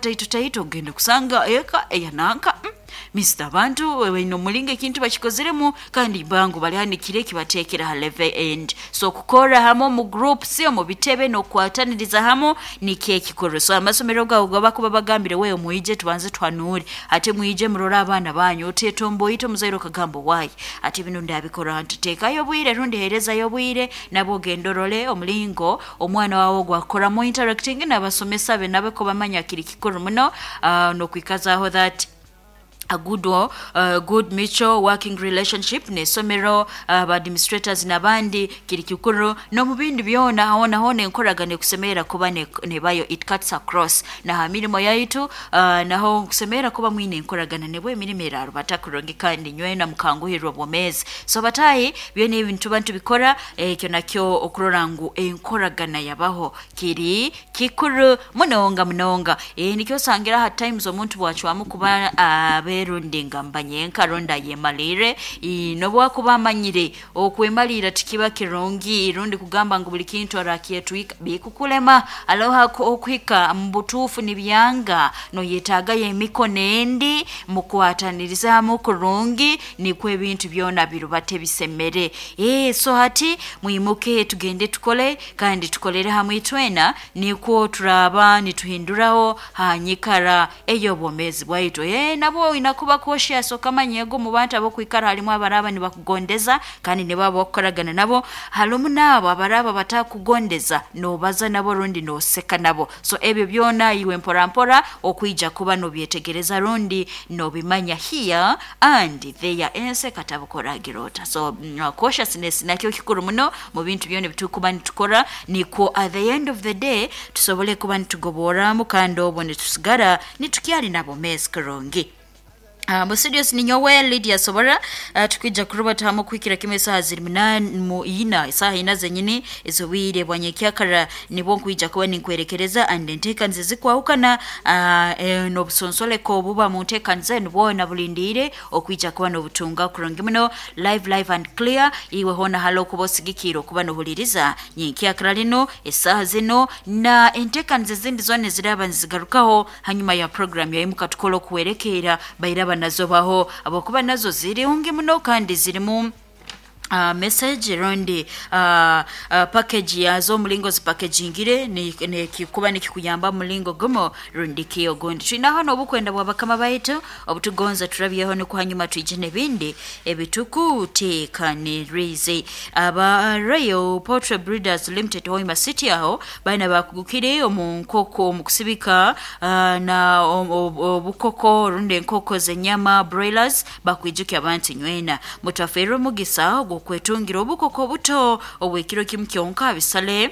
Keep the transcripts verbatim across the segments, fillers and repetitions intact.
Taito taito ogenda kusanga eka eyananka mm. Mister abantu baine omulingo ekintu bakikozeremu kandi bangu balihanikire kibateekera ha level end. So kukora hamwe omu groups, omu bitebe, n'okukwataniriza hamwe nikyo ekikuru. So amasomero gaabo gabakuba bagambire, wewe mwije tubanze tuhanuure, ate mwije murore abaana banyu, otetomboite omuzaire okagamba waayi ate binu ndabikora nti teekayo obwire rundi heerezayo obwire nabo ogenda orole omulingo omwana waawe ogwakukoramu interacting n'abasomesa be nabo kubamanya kiri kikuru muno, uh, n'okwikazaaho that a good, uh, good mutual working relationship n'esomero, uh, administrators n'abandi kiri kikuru. N'omu bindi byona hoona hoona enkoragana ekusemerera kuba nebayo, it cuts across na ha mirimo yaitu, uh, naho nkusemerera kuba mwine enkoragana nibwo emirimo erarubata kurungi kandi nywena mukanguhirwa obwomeezi. So batahi byona ebi nituba ntubikora ekyo nakyo okurora ngu enkoragana yabaho kiri kikuru munonga munonga. E, nikyo osangira ha times omuntu bwacwamu kuba abe uh, rundi ngamba nyenka rundi ayemalire, nobwakuba amanyire okwemalira tikiba kirungi rundi kugamba ngu buli kintu arakyetwika bikukulema aloha okuhika mu butuufu nibyanga noyetaagayo emikono endi mukwatanirizamu kurungi nikwo ebintu byona birubate bisemere. E, so hati mwimuke tugende tukole kandi tukolere hamwe itwena nikwo turaba nituhinduraho hanyikara ey'obwomeezi bwaitu. E, nabo inakuba cautious okamanya ego mu bantu abokwikara halimu abaraba nibakugondeza kandi nibaba bakukoragana nabo, halimu naabo abaraba batakugondeza nobaza nabo rundi noseka nabo. So ebyo byona iwe mpora mpora okwija kuba nobyetegereza rundi nobimanya here and there ense katabukoragirota. So mm, cautiousness nakyo kikuru muno mu bintu byona ebitukuba nitukora nikwo at the end of the day tusobole kuba nitugoboramu kandi obwo nitusigara nitukyali nabo mezi kurungi. Uh, mu studios ni nyowe Lydia Sobora, uh, tukwija kuruba tahamu kuhikira kimwe isaha ziri munani mu ina isaha ina zenyini ezobwire bwa nyekyakara nibwo nkwija kuba ninkwerekereza and enteekaniza zikwahukana, uh, e, n'obusonsoleko obuba mu nteekaniza enu bwona bulindiire okwija kuba n'obutunga kurungi muno live live and clear. Iwe hoona hali okuba osigikiire okuba n'ohuliriza nyenkyakara lino esaaha zino na enteekaniza ezindi zoona eziraaba nizigarukaho hanyuma ya program yaimuka tukola okuwerekeera bairaba nazo baho abakuba nazo zirungi muno kandi zirimu Uh, message rundi uh, uh, package yazo omulingo zipackagingire nikikuba nikikuyamba mulingo gumo rundi kiyo gundi. Twinaho n'obukwenda bwa bakama baitu obutugonza turabyeho nikwo hanyuma twije n'ebindi ebitukuteekanirize. Aba Royal Poultry Breeders Limited Hoima City aho baina bakugukire omu nkoko omu kusibika uh, na obukoko rundi enkoko z'enyama broilers bakwijukya abantu nywena mutafeerwe omugisa ogw'okwetungira obukoko obuto obw'ekiro kimu kyonka bisale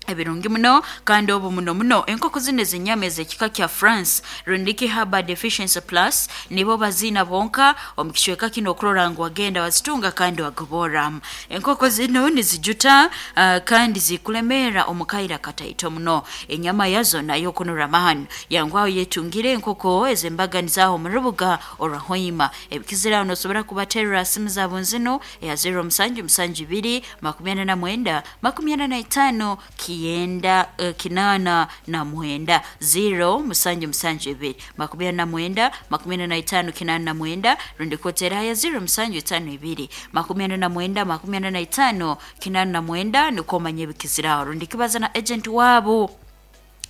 ebirungi muno kandi obu muno muno enkoko zino ezenyama ez'ekika kya France rundiki Herbal Deficiency Plus nibo baziina bonka omu kicweka kino okurora ngu wagenda wazitunga kandi wagoboramu. Enkoko zino nizijuta uh, kandi zikulemeera omu kaira kataito muno, enyama yazo nayo kunura mahanu yangwaho yetungire enkoko ez'embaganizaho omu rubuga orwa Hoima. Ebikiziraho nosobora kubaterera simu zaabo nzino eya zero musanju musanju ibiri makumi ana na mwenda makumi ana na itaano kienda uh, kinana na mwenda zero musanju musanju ibiri makumi ana na mwenda makumi ana na itaano kinana na mwenda rundi kotera ya zero musanju itaano ibiri makumi ana na mwenda makumi ana na itaano kinana na mwenda nikwo omanye ebikiziraho rundi kibaza na agent waabo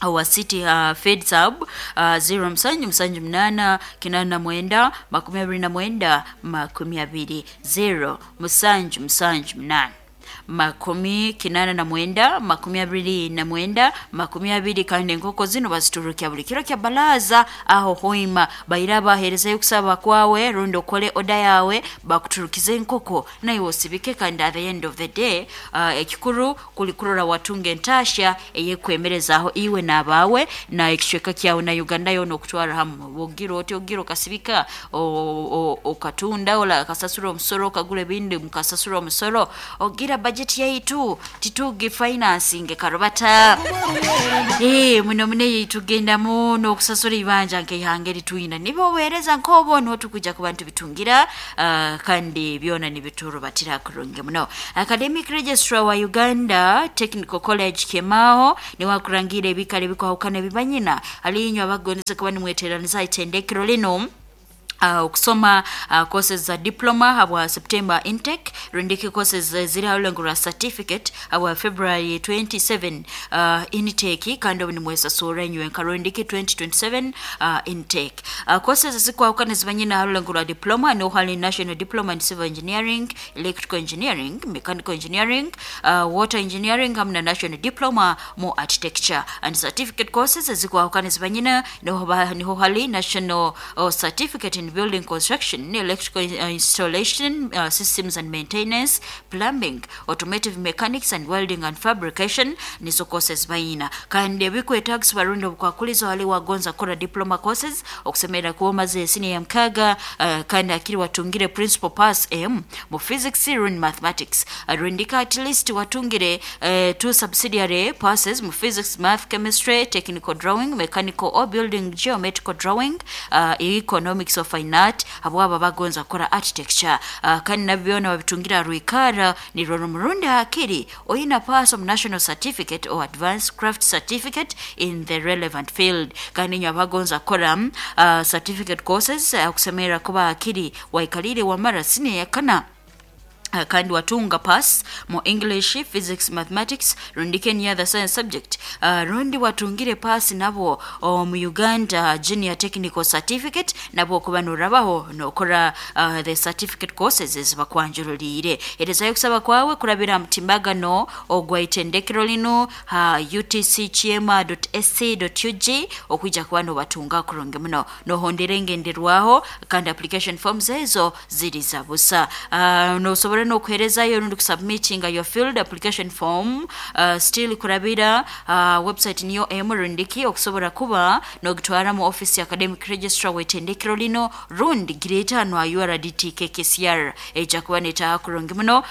wa City uh, Fed Sub uh, zero musanju musanju munana kinana na mwenda makumi abiri na mwenda makumi abiri zero musanju musanju munana makumi kinana na mwenda makumi abiri na mwenda makumi abiri. Kandi enkoko zino baziturukya buli kiro kya balaza aho Hoima baira baherezayo okusaba kwawe rundi okole oda yawe bakuturukize enkoko naiwe osibike kandi at the end of the day uh, ekikuru kuli kurora watunga entasha eyekwemerezaaho iwe n'abaawe na ekicweka kyawe na Uganda yoona okutwara hamu. Ogira oti ogira okasibika okatunda okasasura omusoro okagura ebindi mukasasura omusoro ogira Era budget yaitu titugi financing karubata. Eh, muno mune tugendamu n'okusasula ibanja nk'eihanga eritwina nibo obuheereza nk'obwo niho tukuja kuba nitubitungira, uh, kandi byona nibiturubatira kurungi muno. Academic registrar wa Uganda Technical College Kemaho niwe akurangira ebikara ebikwahukana ebibanyina aliinywe abagondeze kuba nimweteraniza itendekero lino Uh, okusoma uh, courses za diploma habwa September intake, rundiki courses ziri halulengo lwa certificate habwa February twenty-seven uh, intake, kandi obu nimwesasura enywe nka rundiki twenty twenty-seven uh, intake. Uh, courses zikwahukana zibanyina halulengo lwa diploma niho hali National Diploma in Civil Engineering, Electrical Engineering, Mechanical Engineering, uh, Water Engineering hamwe na National Diploma mu Architecture. And certificate courses zikwahukana zibanyina niho niho hali National uh, Certificate in Building Construction, Electrical Installation, uh, Systems and Maintenance, Plumbing, Automotive Mechanics and Welding and Fabrication nizo courses bayina. Kandi ebikwetagisa barundi obukwakulizo hali wagonza kora diploma courses okusemera kuba omaze senior ya mkaga, uh, kandi akiri watungire principal pass M mu physics rundi mathematics, rundika at least watungire uh, two subsidiary passes mu physics, math, chemistry, technical drawing, mechanical or building geometrical drawing, uh, economics of fine art abo aba bagonza kora architecture, uh, kandi nabyona babitungira rwikara ni roro murundi hakiri oyina pass of national certificate or advanced craft certificate in the relevant field. Kandi nyo abagonza kora uh, certificate courses uh, kusemera kuba hakiri waikalire wamara sine yakana kandi watunga pass mu English, Physics, Mathematics rundi any other science subject, uh, rundi watungire pass nabo mu Uganda Junior Technical Certificate nabo kuba nurabaho nokora uh, the certificate courses ezibakwanjurulire. Erezayo kusaba kwawe kurabira mutimbagano ogwa itendekero lino ha u t c kyema dot a c dot u g okwijja kuba nobatunga kurungi muno nohondera engenderwaho, kandi application forms ezo ziri za busa. uh, nosobora nokuherezayo rundi kusubmittinga your field application form uh, still kurabira uh, website niyo emu rundiki okusobora kuba nogitwara mu office ya academic registrar wetendekero lino rundi gireta no U R D T K K C R eja kuba netaha kurungi muno.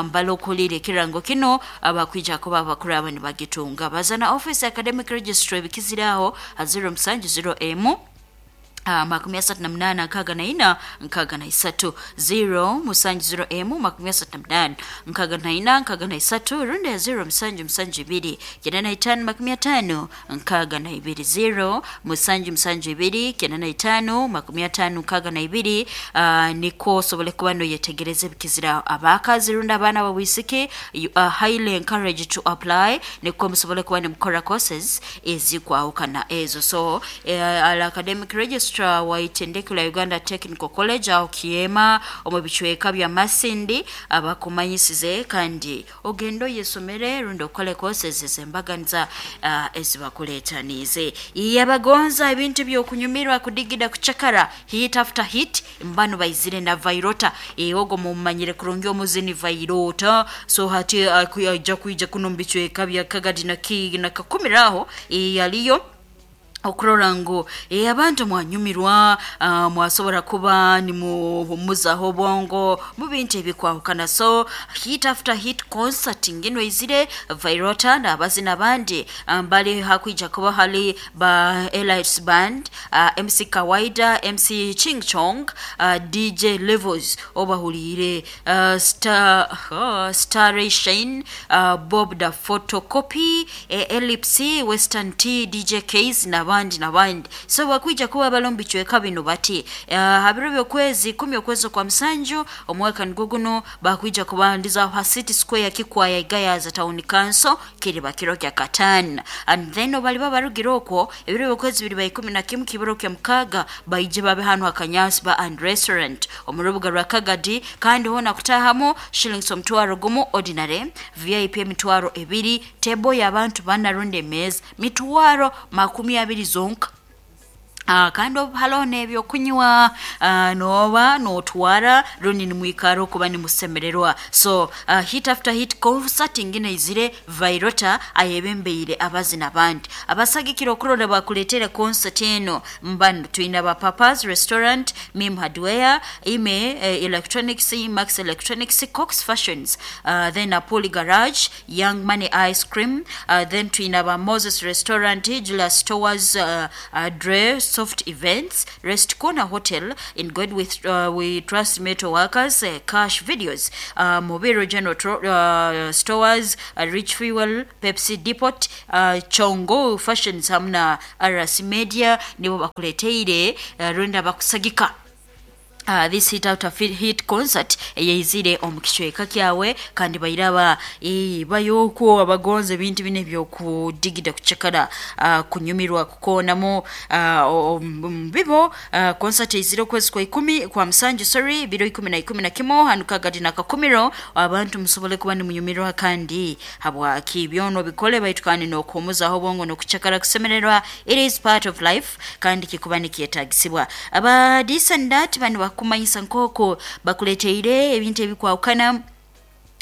Mbalo um, kulire kirango kino abakwija kuba abakuru abandi bagitunga bazana office academic registrar bikiziraho zero musanju zero emu Uh, makumi asatu na mnana nkaga na ina nkaga na isatu zero musanju zero emu makumi asatu na mnana nkaga na ina nkaga na isatu rundi ya zero musanju musanju ibiri kenda na itano makumi atano nkaga na ibiri zero musanju musanju ibiri kenda na itano makumi atano nkaga na ibiri. uh, niko sobole kuba no yetegereze bikizira abakazi rundi abaana bawisike, you are highly encouraged to apply niko musobole kuba nimukora courses ezikwahukana ezo. So uh, al academic register wa itendekero la Uganda Technical College aho Kiema omu bicweka bya Masindi abakumanyisize kandi ogendo yesomere rundi okole courses ezembaganiza uh, ezibakuleetanize. Yabagonza ebintu by'okunyumirwa kudigida kucakara hit after hit mbano baizire na Vairota eogo mumanyire kurungi omuzini Vairota. So hati uh, kuija kuno mu bicweka bya Kagadi na Ki na Kakumiraho yaliyo okurora ngu e, abantu mwanyumirwa, uh, mwasobora kuba nimuhumuzaho obwongo mu bintu ebikwahukana. So hit after hit concert ngino izire Vairota n'abazina abandi mbali um, hakwija kuba hali ba Elites Band, uh, M C Kawaida, M C Ching Chong, uh, D J Levels obahulire, uh, Star uh, Star Shane, uh, Bob the Photocopy, eh, Ellipse, Western T, D J Case na abandi nabandi. So bakwija kuba balombi chweka bino bati uh, habiro byokwezi kumi okwezi kwa msanju omwaka nguguno bakwija kubandiza ha City Square Kikwaya Igayaza Town Council kiri bakiro kya Katana. And then obali babarugira okwo ebiro byokwezi biri by kumi na kimu kibiro kya mkaga baije babe hano akanyasi ba and restaurant omurubuga rwa Kagadi, kandi hona kutahamo shillings omutwaro gumu ordinary, V I P mitwaro ebiri, table y'abantu bana runde meza mitwaro makumi abiri zonka. Uh, kandi haloho n'ebyokunywa uh, noba notwara rundi nimwikara okuba nimusemererwa. So uh, hit after hit concert ingine izire Vairota ayebembeire abazina abandi abasagikira okurora bakuletere concert eno. Mbano twina ba Papa's Restaurant, Mim Hardware, Ime eh, Electronics, Max Electronics, Cox Fashions, uh, then Apoli Garage, Young Money Ice Cream, uh, then twina ba Moses Restaurant, Julius Stores, uh, uh, Dre Soft Events, Rest Corner Hotel, In God with uh, We Trust Metal Workers, uh, Cash Videos, uh, Mobiro General Tro- uh, Stores, uh, Rich Fuel, Pepsi Depot, uh, Chongo Fashions hamwe na R S Media nibo bakuleteire uh, runda bakusagika Uh, this hit out of hit concert eyeizire omu kicweka kyawe kandi bairaba e, bayoko abagonze ebintu bine ebyokudigida kucakara uh, kunyumirwa kukoonamo uh, bibo uh, concert eizire okwezi kwa ikumi kwa musanju sorry biro ikumi na ikumi na kimo hanu Kagadi na Kakumiro abantu musobole kuba nimunyumirwa kandi habwaki byono bikole baitu kandi n'okuhumuzaho obwongo n'okucakara kusemererwa. It is part of life kandi kikuba nikyetagisibwa. Aba this and that bano kumanyisa nkoko bakuleteire ebintu ebikwawukana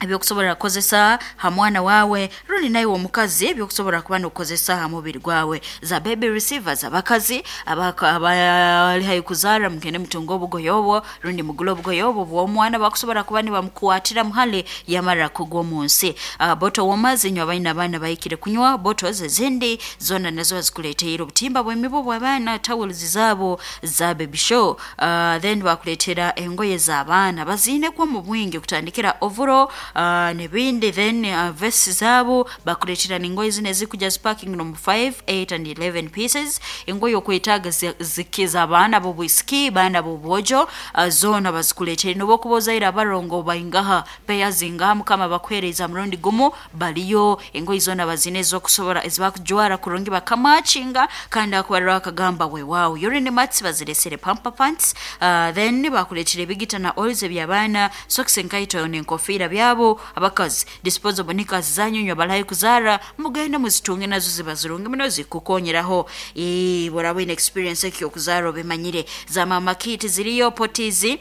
ebyokusobola kukozesa ha mwana wawe rundi naye omukazi ebyokusobola kuba n'okukozesa ha mubiri gwawe. Za baby receivers abakazi abali hayi kuzara mugende mutunga obugoye obwo rundi mugule obugoye obwo bw'omwana bakusobola kuba nibamukwatira muhale yamara kugwa omu nsi. Uh, boto warmers inywe abaina abaana bahikire kunywa bottles ezindi zona nazo bazikuleteire obutimba bw'emibu bw'abaana towels zaabo za baby show. Uh, then bakuleetera engoye z'abaana baziinekwo mu bwingi kutandikira overall Uh, nebindi then uh, vesti zabo bakuletera ningoye zine zikuja sparking no five, eight and eleven pieces. Engoye okwetaaga zikiza abaana b'obwisiki baana b'obwojo uh, zona bazikuletera nobokubozaira abarongo baingaha peya zingaha mukama bakuhereza murundi gumu baliyo engoye zona bazine ezokusobora ezibakujwara kurungi bakamachinga kandi akubarira akagamba wewawo urine mats baziresere pampa pants. uh, then bakuletera ebigita na oils eby'abaana socks enkaito n'enkofiira byabo abakazi disposable knickers zanyu balayi kuzara mugende muzitunge nazo ziba zirungi muno zikukonyeraho eh borabo in experience ekyo kuzara obimanyire. Za mama kit ziriyo potizi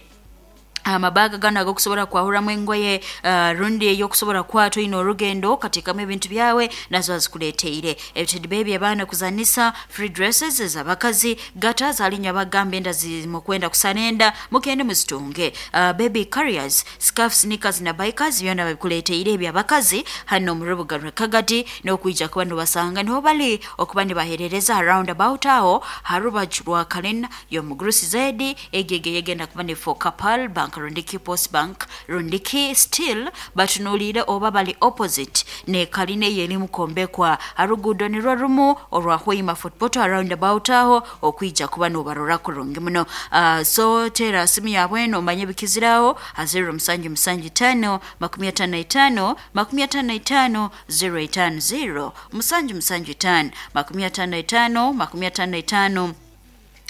amabaga gana agokusobola kwahuramu engoye uh, rundi eyokusobola kwatwa ino orugendo katekamu ebintu byawe nazo azikuleteire. Ebitedi baby abaana kuzanisa free dresses ez'abakazi gata zalinya bagamba enda zimukwenda kusanenda mugende muzitunge. uh, baby carriers scarves sneakers na bikers byona babikuleteire eby'abakazi hano mu rubuga rwa Kagadi n'okwija kuba nibasanga niho bali okuba nibaherereza around about aho harubaju rwa Kalina y'omugrusi zedi egege yegenda kuba ni for Kapal Bank Rundiki Post Bank Rundiki still batunuulire oba bali opposite ne kaline yeri mukombekwa arugudo ni rwarumu olwa Hoima Football around about aho okwija kuba nobarora kurungi muno. uh, so tera simu yabwe nomanye bikiziraho zero musanju musanju tano makumi atano na itano makumi atano na itano zero itano zero musanju musanju tano makumi atano na itano makumi atano na itano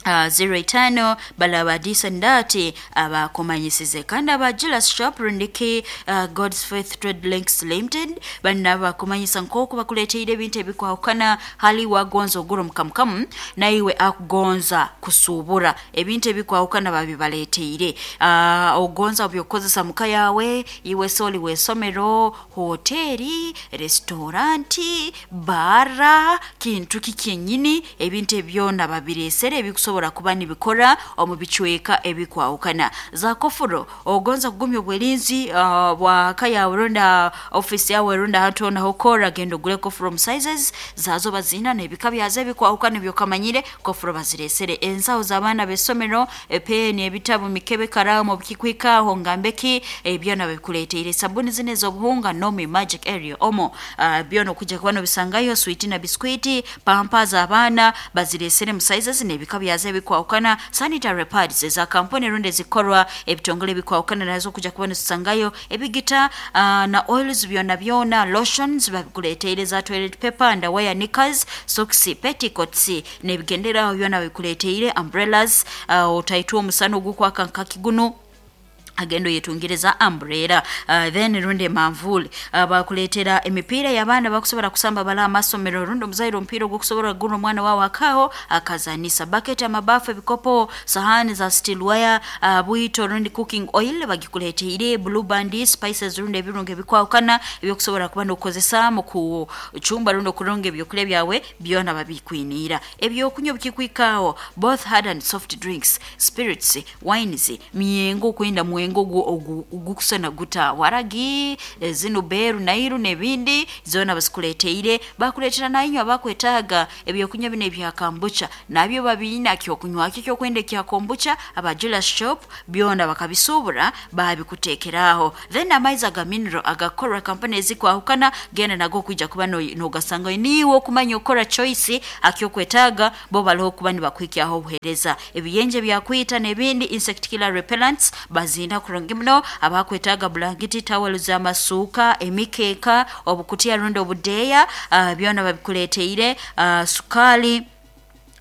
Uh, zero itano balaba disandati abakomanyisize kandi aba Julius Shop Rundiki uh, God's Faith Trade Links Limited banna bakomanyisa nk'oku bakuleteire ebintu ebikwawukana hali wagonza ogura omukamukamu naiwe akugonza kusuubura ebintu ebikwawukana babibaleteire. uh, ogonza byokukozesa muka yawe iwe soli w'esomero hoteri restauranti bara kintu kikyenyini ebintu ebyona babiresere ebikusobola kuba nibikora omu bicweka ebikwawukana. Za kofuro ogonza kugumya obwelinzi uh, bwa kaya runda office yawe runda hantu ona hokora genda ogule kofuro sizes zazo bazina n'ebika byazo ebikwawukana byokamanyire kofuro baziresere. Ensawo z'abaana b'essomero epeni ebitabo mikebe karamu obukikwikaho ngambeki ebyona babikuleteire. Sabuni zine ez'obuhunga Nomi Magic Area omo uh, byona okujja kuba nobisangayo sweet na biskwiti pampa z'abaana baziresere mu sizes n'ebika byazo ebikwawukana. Sanitary pads eza kampuni rundi ezikorwa ebitongole ebikwawukana nazo kujja kuba nozisangayo ebigita uh, na oils byona byona lotions babikuleteire za toilet paper underwear knickers socks petticoats n'ebigenderaho byona babikuleteire umbrellas uh, otaitwa omusana ogukwaka nkakiguno Agendo yetungiriza umbrella uh, then runde manvuli uh, bakuletera emipiira y'abaana bakusobola kusamba bala amasomero rundi omuzaire omupiira ogwokusobola kugura omwana wawe akaho akazanisa bucket, amabafu, ebikopo, sahani za steel wire, uh, bwito rundi cooking oil bagikuleteire, Blue Band, spices rundi ebirungo ebikwahukana ebyokusobola kuba nokukozesa mu kucumba rundi okurunga ebyokulya byawe byona babikwiniira. Ebyokunywa bikikwikaaho, both hard and soft drinks, spirits, wines, myengo okwenda mwengo ogukusana guta waragi, zino beru nairu n'ebindi zoona bazikuleteire. Bakuleetera nainywe abakwetaaga ebyokunywa bino ebya kombucha nabyo babiina, kyokunywa ki kyokwenda ekya kombucha aba Julius Shop byona bakabisuubura babikuteekeraaho. Then amaizi aga mineral agakorwa kampani ezikwahukana genda nago kwija kuba nogasanga niiwe okumanya okukora choice akyokwetaaga bo baliho kuba nibakuhikyaho obuheereza. Ebiyenje byakwita n'ebindi insect killer repellents bazinda kurungi muno. Abakwetaaga bulangiti, tawelo z'amasuuka, emikeeka, obukutiya rundi obudeeya uh, byona babikuleteire, uh, sukaali,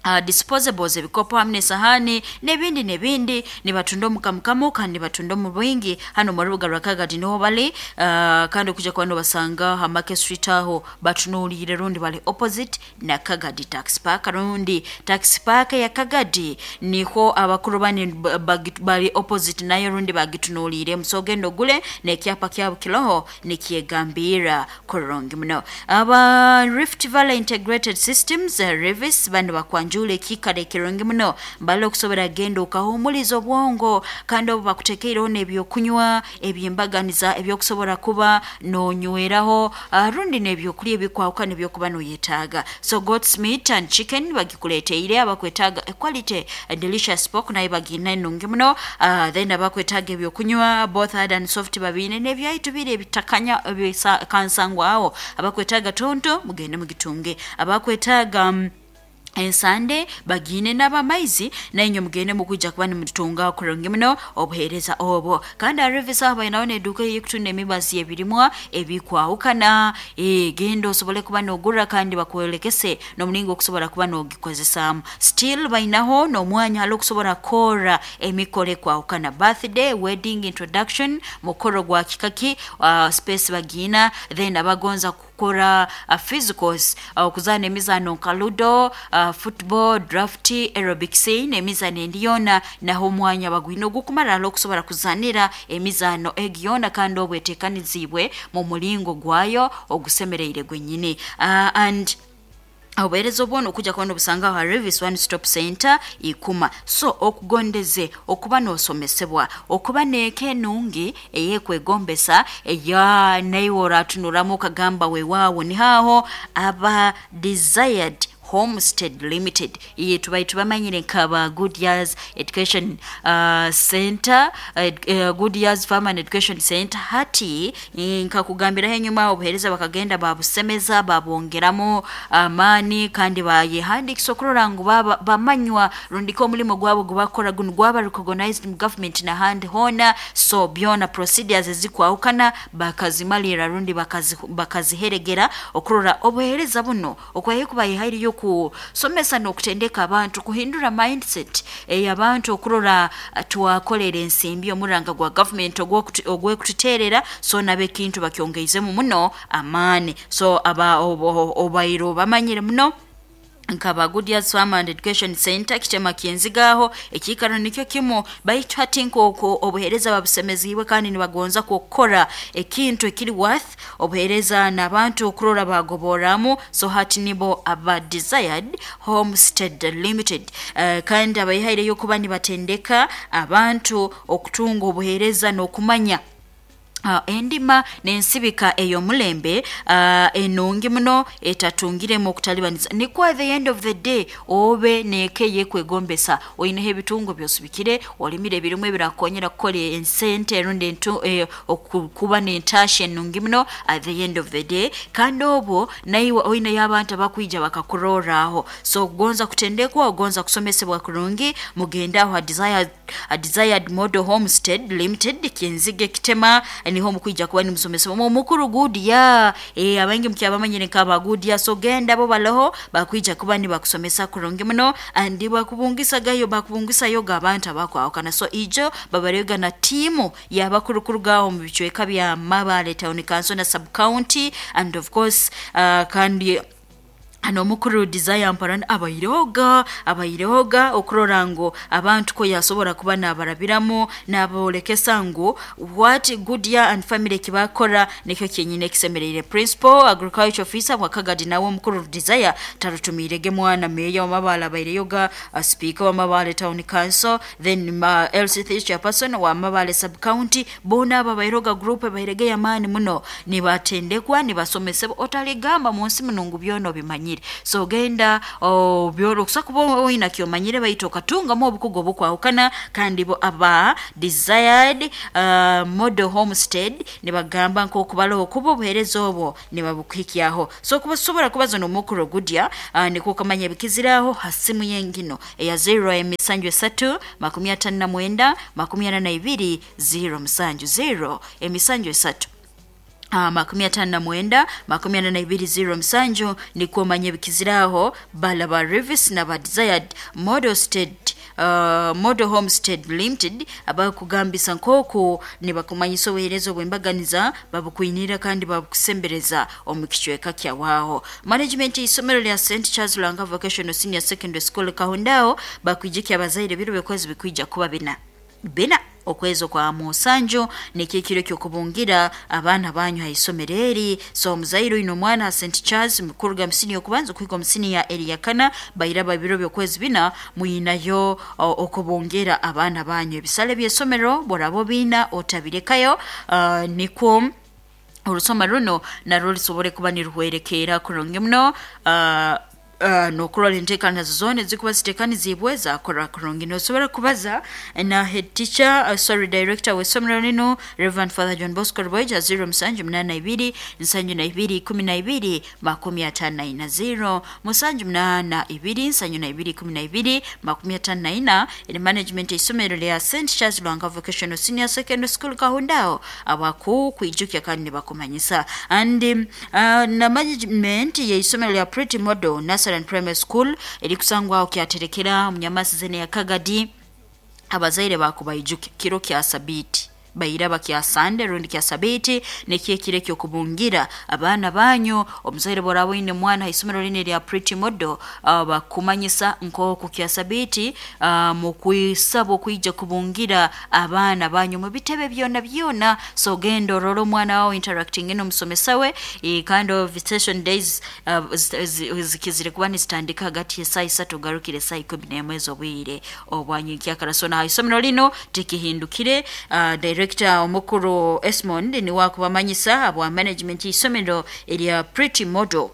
Uh, disposables, ebikopo hamwe n'esahani n'ebindi n'ebindi. Nibatunda omukamukamu kandi nibatunda omu bwingi hano mu rubuga rwa Kagadi niho bali, uh, kandi okuja kuba nobasanga ha Market Street aho batunuulire rundi bali opposite na Kagadi Tax Park rundi Tax Park ya Kagadi niho abakuru bani bali opposite nayo rundi bagitunuulire. Musogenda ogule n'ekyapa kyabo kiroho nikyegambira kurungi muno. Aba Rift Valley Integrated Systems, uh, Rivis bano bakwanjula ekikara ekirungi muno mbale okusobora genda okahumuliza obwongo kandi obu bakutekeireho n'ebyokunywa ebyembaganiza ebyokusobora kuba nonyweraho uh, rundi n'ebyokulya ebikwahukana ebyokuba noyetaaga. So goat's meat and chicken bagikuleteire. Abakwetaaga quality delicious pork nayo bagina enungi muno. uh, then abakwetaaga ebyokunywa both hard and soft babiine n'ebyaitu biri ebitakanya ebikansangwaho. Abakwetaaga tonto mugende mugitunge. Abakwetaaga um, ensande bagine n'abamaizi nainywe mugende mukwijja kuba nimutunga kurungi muno obuheereza obwo. Kandi arevisa abainaho n'edduuka ey'okutunda emibazi ebirimwa ebikwahukana, e, genda osobole kuba n'ogura kandi bakwolekese n'omulingo okusobola kuba n'ogikozesaamu. Still bainaho n'omwanya hali okusobola kukora emikoro ekwahukana, birthday, wedding, introduction, mukoro gwa kikaki, uh, space bagina. Then abagonza kukora uh, physicals, okuzaana uh, emizaano nka ludo, uh, football, draft, aerobics n'emizaano endi yoona naho omwanya bagwine ogukumara hali okusobola kuzaanira emizaano egi yoona kandi obweteekaniziibwe mu mulingo gwayo ogusemereire gwennyini. uh, and obuheereza obwona okujja kuba nobusanga ha Revis One Stop Center Ikuma. So okugondeze okuba n'osomesebwa okuba n'eka enungi eyekwegombesa eya naiwe oratunuramu okagamba weewaawo nihaaho aba Desired Homestead Limited iye tubai tubamanyire nkaba Good Years Education uh, Center, uh, Good Years Farm and Education Center. Hati nkakugambiraho enyuma obuheereza bakagenda babusemeza babongeramu amaani uh, kandi bayehandikisa okurora ngu bamanywa rundiko omulimo gwabo gubakora guno gwaba recognized mu government n'ahandi hoona. So byona procedures ezikwahukana bakazimalira rundi bakaziheregera okurora obuheereza buno okwaye kubayihairiyo kusomesa n'okutendeka abantu kuhindura mindset ey'abantu okurora twakolera ensimbi omuranga gwa government ogwekututeerera. So nabo ekintu bakyongeizemu muno amaani. So aba obairo bamanyire muno nkaba Good Years Farm and Education Center kitema kyenzigaho ekikaro nikyo kimu baitu hati nk'okwo obuheereza babusemeziibwe kandi nibagonza kukora ekintu ekiri worth obuheereza n'abantu okurora bagoboramu. So hati nibo aba Desired Homestead Limited, uh, kandi abayihaireyo kuba nibatendeka abantu okutunga obuheereza n'okumanya Uh, endima n'ensibika ey'omulembe uh, enungi muno etatungiremu okutalibaniza nikwo at the end of the day obe neeke yekwegombesa oineho ebitungo byosubikire olimire ebirimu ebirakonyera kukora ensente rundi eh, okuba n'entasha enungi muno at the end of the day kandi obwo naiwe oineyo abantu abakwija bakakuroraaho. So ogonza kutendekwa ogonza kusomesebwa kurungi mugende aho a Desired, a Desired Model Homestead Limited Kinzige Kitema Niho mukwija kuba nimusomesa omukuru Gudia. eh abaingi mukyabamanyire nkaba Gudia. So genda bo baloho bakwija kuba nibakusomesa kurungi muno, andi bakubungisagayo bakubungisayo abantu abakwawukana. So ijo babarega na tiimu yabakurukurugaho mu bicweka bya Mabale Town Council na sub county, and of course uh, kandi hano omukuru Desire Mparana abairoga abairoga okurora ngu abantu ko yasobora kuba nabarabiramu nabolekesa ngu what Goodyear and family kibakora nikyo kyenyine ekisemereire. Principal agriculture officer wakagadi nawe omukuru Desire tarutumirege mwana meya wamabale abaireyoga, uh, speaker wa Mabale Town Council, then uh, L C three chairperson wa Mabale sub county, bona aba bairoga group bairege yamani muno nibatendekwa nibasomesebwa otaligamba munsi munungu byono bimanyire. So genda oh, byoro kusakuba oyina kyomanyire baito okatungamu obukugo obukwawukana. Kandi bo aba Desired uh, Model Homestead nibagamba nk'okubalaho kuba obuheereza obwo nibabukuhikyaho. So kubasobora kubaza n'omukuru Gudia uh, nikwo okamanya ebikiziraho ha simu yengino eya zero emisanju esatu makumi atano na mwenda makumi ana na ibiri zero musanju zero emisanju esatu Uh, makumi atano na mwenda makumi ana na ibiri zero musanju nikwo omanye ebikiziraho bala ba Revis na ba Desired Model State Uh, Model Homestead Limited abakugambisa nkoku nibakumanyisa obuheereza obwembaganiza babukwinira kandi babukusembereza omu kicweka kyawaho. Management y'isomero lya Saint Charles Lwanga Vocational Senior Secondary School Kahundao bakwijikya abazaire biro byokwezi bikwija kuba bina bina okwezi kwa musanju nikikiro kyokubungira abaana banyu haisomero eri. So omuzaire oine omwana ha Saint Charles mukuruga musini okubanza okuhika omusini ya Eriyakana bairaba ebiro byokwezi bina muyinayo okubungira abaana banyu. Ebisale by'esomero borabo bina otabirekayo uh, nikwo orusoma runo narwo rusobore kuba niruhwerekera kurungi muno. uh, Uh, nokurora enteekaniza zoona ezikuba ziteekanizibwe zakora kurungi. Nosobora kubaza na head teacher uh, sorry director w'essomero lino Reverend Father John Bosco Rwaija zero musanju munaana ibiri nsanju na ibiri ikumi na ibiri makumi ataano na ina zero musanju munaana ibiri nsanju na ibiri ikumi na ibiri makumi ataano na ina. Eri management y'essomero lya Saint Charles Lwanga Vocational Senior Secondary School Kahundao abaku kwijukya kandi nibakumanyisa. And um, uh, na management y'essomero lya Pretty Model Nursery and Primary School erikusangwaho kyaterekera munyamasi zene ya Kagadi abazaire bakubayijuke kiro kya sabiti bairaba kya Sunday rundi kya sabiti nekyekire kyokubungira abaana banyu. Omuzaire borabo ine mwana haisomero line lya Pretty Model uh, bakumanyisa nkoku kya sabiti uh, mukwisaba okwijja kubungira abaana banyu mu bitebe byona byona. So genda orora omwana wawe interacting n'omusomesa we e, kind of visitation days uh, zikizire kuba nizitandika hagati y'esaaha isatu ogarukire esaaha ikumi n'emwe ez'obwire obwanyikyakara. So na haisomero lino tikihindukire. uh, director omukuru Esmond niwe akubamanyisa abwa management y'isomero erya Pretty Model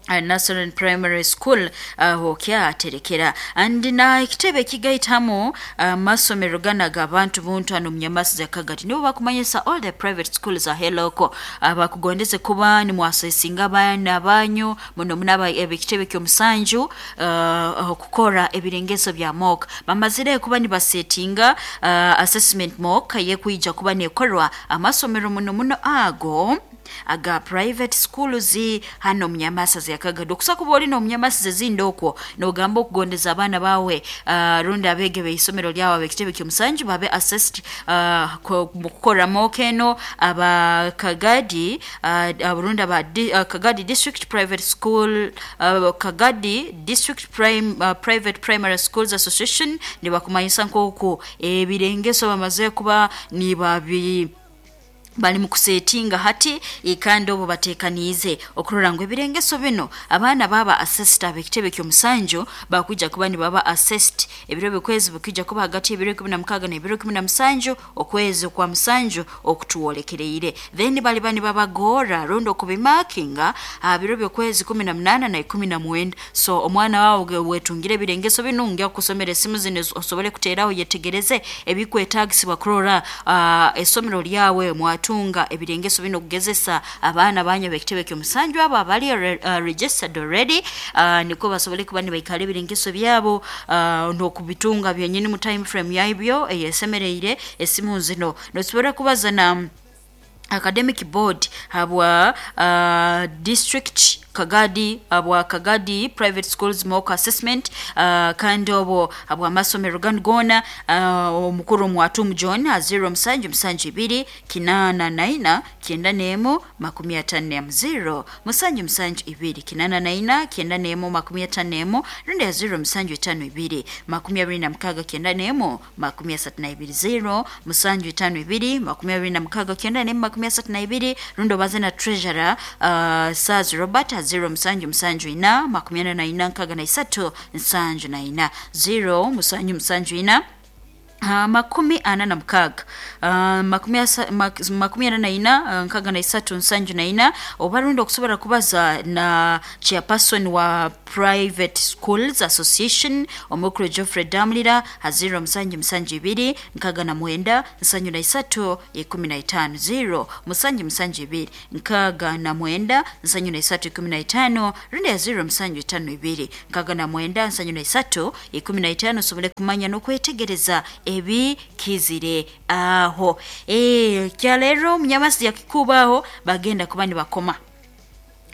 uh, Nursery and Primary School aho uh, kyaterekera. And na ekitebe kigaitamu uh, masomero gana abantu buntu hano munyamasi za Kagadi nibo bakumanyisa all the private schools aheloko abakugondeze kuba ni mwasesinga abaana banyu muno munaba ebitebe ky'omusanju uh, okukora ebirengeso bya mock bamazire kuba nibasetinga uh, assessment mock yekuija kuba nekorwa amasomero muno muno ago aga private schools hano munyamasa ya Kagadi. Okusa kuba oli n'omunyamasi zezindi okwo n'ogamba okugondeza abaana bawe uh, rundi abege b'isomero lyawe ab'ekitebe ky'omusanju babe assessed uh, mu kukora mock eno aba Kagadi uh, rundi aba di, uh, Kagadi District Private School uh, Kagadi District Prime, uh, Private Primary Schools Association nibakumanyisa nk'oku ebirengeso bamaze kuba nibabi bali mukusetinga hati ikandi obo batekaniize okurora ngu ebirengeso bino abaana baba assessed ab'ekitebe ky'omusanju bakwija kuba nibaba assessed ebiro bikwezi bikija kuba hagati y'ebiro ikumi na mukaaga n'ebiro ikumi na musanju okwezi kwa musanju okutuwolekereire. Then bali bani babagora rundi okubimakinga biro byokwezi kumi na munaana na ikumi na mwenda. So omwana wawe wetungire ebirengeso bino ngia kusomera esimu zino osobole kuteeraho yetegereze ebikwetagisibwa kurora uh, esomero lyawe mwatu tunga ebirengeso bino kugezesa abaana banyu ab'ekitebe ky'omusanju abo abali uh, registered already uh, niko basobole kuba nibaikara ebirengeso byabo uh, n'okubitunga byenyini mu time frame yaibyo eyesemereire esimu zino nosobora kubaza na Academic Board habwa uh, district Kagadi, habwa Kagadi Private Schools Mock Assessment, uh, kandi obwo habwa amasomero ganu goona, uh, omukuru Mwatumu John ha zero musanju musanju ibiri kinana naina kyenda n'emu makumi atano n'emu, zero musanju musanju ibiri kinana naina kyenda n'emu makumi atano n'emu, rundi ya zero musanju itano ibiri makumi abiri na mukaaga kyenda n'emu makumi asatu na ibiri, zero musanju itano ibiri makumi abiri na mukaaga kyenda n'emu makumi asatu na ibiri, rundi obaze na treasurer uh, Saz Robert ha zero musanju musanju ina makumi ana na ina nkaaga na isatu nsanju na ina, zero musanju musanju ina Uh, makumi ana na mukaaga uh, makumi, asa, mak, makumi ana na ina uh, nkaaga na isatu nsanju na ina, oba rundi okusobola kubaza na chairperson wa Private Schools Association omukuru Geoffrey Damulira ha zero musanju musanju ibiri nkaaga na mwenda nsanju na isatu ikumi na itano, zero musanju musanju ibiri nkaaga na mwenda nsanju na isatu ikumi na itano, rundi ya zero musanju itano ibiri nkaaga na mwenda nsanju na isatu ikumi na itano, osobole kumanya n'okwetegereza ebikizire aho. E, kyaleero munyamasi yakikubaho bagenda kuba nibakoma.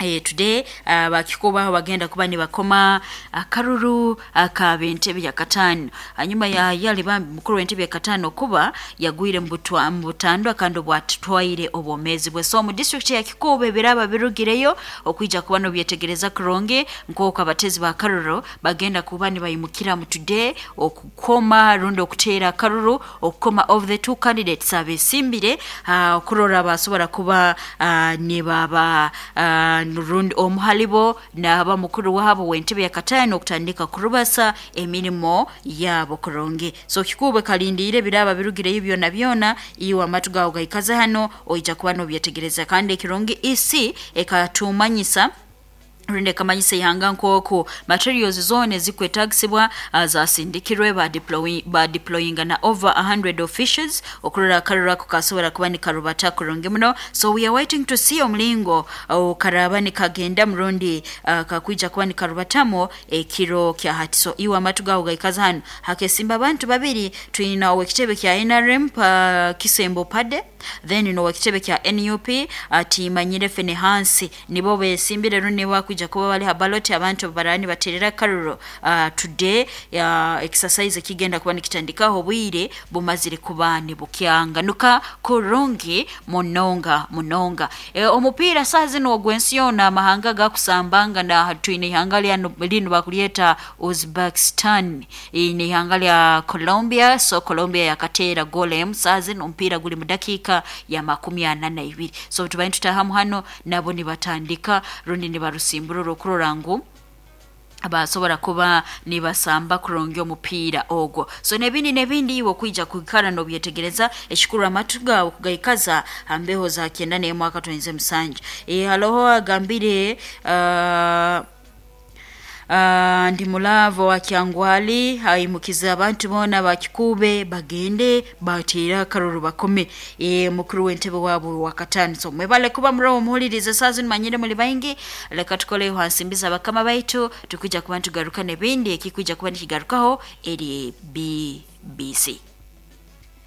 E, today uh, bakikubaho bagenda kuba nibakoma akaruru akabentebe ya katano, hanyuma ya yali bambi mukuru w'entebe ya katano kuba yagwire mu butandwa kandi bwatwaire obwomezi bwe. So mu district ya Kikuube biraba birugireyo okwija kuba nobyetegereza kurungi nk'oku abatezi ba karuru bagenda kuba nibayimukira mu today okukoma rundi okuteera akaruru okukoma of the two candidates abesimbire uh, okurora basobora kuba uh, nibaba uh, rundi omuhalibo n'aba mukuru wabo w'entebe ya katano okutandika kurubasa emirimo yabo kurungi. So Kikuube kalindiire biraba birugireyo byona byona, iwe amatu gawe gaikaze hano oija kuba nobyetegereza. Kandi ekirungi isi ekatumanyisa rundi ekamanyisa ihanga nk'oku materials zona ezikwetagisibwa uh, zasindikirwe ba deploy, ba deployinga na over a hundred officials okurora akaruru ako kasobora kuba nikarubata kurungi muno. So we are waiting to see omulingo uh, karaba nikagenda murundi uh, kakwija kuba nikarubatamu ekiro kya hati. So iwe amatu gawe gaikaza hano hakesimba abantu babiri, twina owekitebe kya N R M pa Kisembo Pade, then n'owekitebe kya N U P atimanyire Fenehansi, nibo besimbire rundi wakwija kuba bali ha ballot abantu barani baterera karuro uh, today ya uh, exercise kigenda kuba nikitandikaho bwire bumazire kuba nibukyanganuka kurungi munonga munonga. E, omupiira saa zino ogw'ensi yona amahanga gakusambanga na twine ihanga lya lino bakulyeta Uzbekistan, ine ihanga lya Colombia. So Colombia yakateera golem saa zino omupiira guli mu dakika ya makumi ana na ibiri. So tubaye tutahamu hano nabo nibatandika rundi nibarusimburura okurora ngu abasobora kuba nibasamba kurungi omupiira ogwo. So nebindi nebindi iwe kwija kwikara nobyetegereza ekikuru amatu gawe kugaikaza hambeho za kyenda n'emwe akatwenze musanju. E, haloho agambire uh, Uh, ndi mulavo wa Kyangwali haimukiza abantu bona bakikube bagende batera akaruru bakome e, mukuru w'entebe wabo wa katano. So mwebale kuba murawo muhulirize saa zino manyire muri baingi, leka tukole hansimbiza bakama baitu tukija kuba tugaruka nebindi ekikuja kuba nikigarukaho eri B B C.